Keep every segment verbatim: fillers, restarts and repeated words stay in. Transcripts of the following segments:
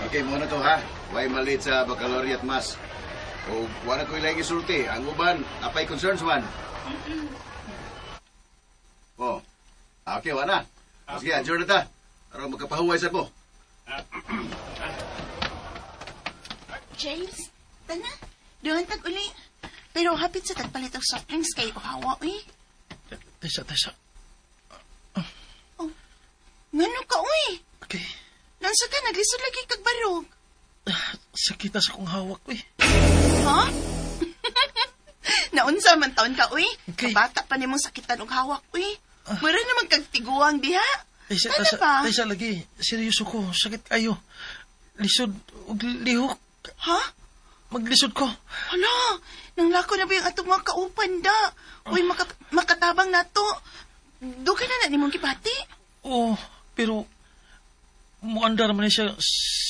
Okay, mao na to ha. Way ma-late sa baccalaureate mass. O wala ko ilang isulti. Ang uban, apay concerns man. Oh. Okay, wala. Sige, adjourn na ta. Aron magkapahuway sa mo. James, tana. Dungan tag uli. Pero hapit sa tagpalit og soft drinks kay uhawa, uy. Tesa, tesa. Oh, ngano ka, uy? Okay. Naunsa ka, naglisod lagi kag barog. Sakita sa kong hawak, uy. Ha? Naunsa man taon ka, uy? Okay. Kabata pa nimong sakitan og hawak, uy. Mura naman kag tiguang diha. Tesa, Ano tesa, ba? tesa lagi. Seryoso ko. Sakit kayo. Lisod, ug lihok. Ha? Maglisod ko. Hala, nanglako na ba yung atong mga kaupan da? Uy, makat makatabang na to. Dugay na na nimong gibati. Oo, pero muandar man ni siya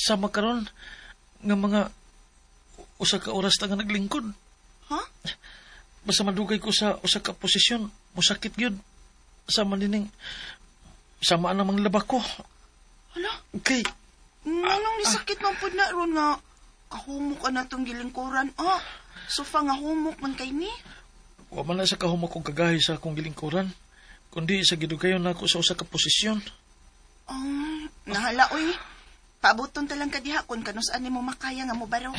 sa makaron nga mga usa ka oras lang nga naglingkod. Ha? Basta madugay ko sa usa ka posisyon, musakit gyud. Sama nining sama namang laba ko. Hala, Okay, nganong nisakit man pud na ron nga kahumok ka na tong gilingkuran. Ah, sofa nga humok man kay ni. wa man na sa kahumok kong kagahi sa akong gilingkuran, kundi sa gidugayon nako sa usa ka posisyon. Um, nahala, uy. Paabuton ta lang ka diha kung kanus-an nimo makaya nga mobarog.